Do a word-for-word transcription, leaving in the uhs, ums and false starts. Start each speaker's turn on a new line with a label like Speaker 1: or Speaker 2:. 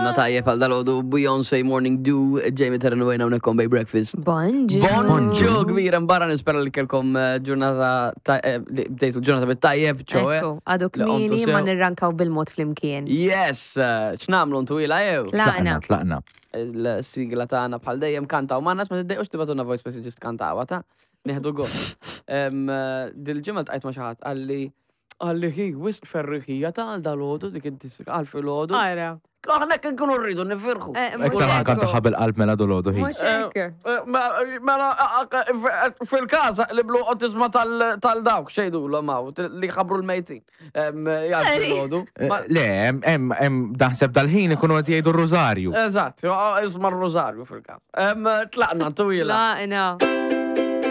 Speaker 1: Qomna tajjeb għal dalgħodu, Beyoncé, Morning Dew, Jamie Terran u hawnhekk on Bay Breakfast.
Speaker 2: Bonġu.
Speaker 1: Bonġu kbira mbarra, nispera li kelkom eh, ġurnata ta- eh, li bdejtu ġurnata bit-tajjeb, ċoe.
Speaker 2: Ekku, għadu
Speaker 1: Li qomtu
Speaker 2: kmini
Speaker 1: sew.
Speaker 2: ma nirrankaw bil-mod flimkien.
Speaker 1: Yes, eh, x'nagħmlu, ntwila jew?
Speaker 2: Tlaqna.
Speaker 3: Tlaqna.
Speaker 1: Il-sigla tagħna bħal dejjem kantaw ma' nas, ma tiddejqux tibagħtulna voice messages, kantawha ta', nieħdu gost. Em, eh, Dil-ġimgħa ltqajt ma' xi ħadd, qalli qalli hi wisq ferriħija ta' għal dalgħodu dik id-diska għal filgħodu.
Speaker 2: Ara.
Speaker 1: Aħna kien nkunu rridu nifirħu.
Speaker 2: Eh, mhux
Speaker 3: Iktar
Speaker 2: hekk.
Speaker 3: kanta ħabel qalb mela dolodu hi.
Speaker 2: Mhux hekk.
Speaker 1: Eh, Mela, fil-każ li blu tisma' tal-dawk xejdu l-maw li ħabru l-mejtin.
Speaker 2: Sorry.
Speaker 1: Jgħidu.
Speaker 3: Eh, Le, hemm hemm hemm daħseb dal-ħin ikunu qed jgħidu r-rużarju.
Speaker 1: Eżatt, isma' r-rożarju fil-każ. Tlaqna, twila.
Speaker 2: Tlaqna.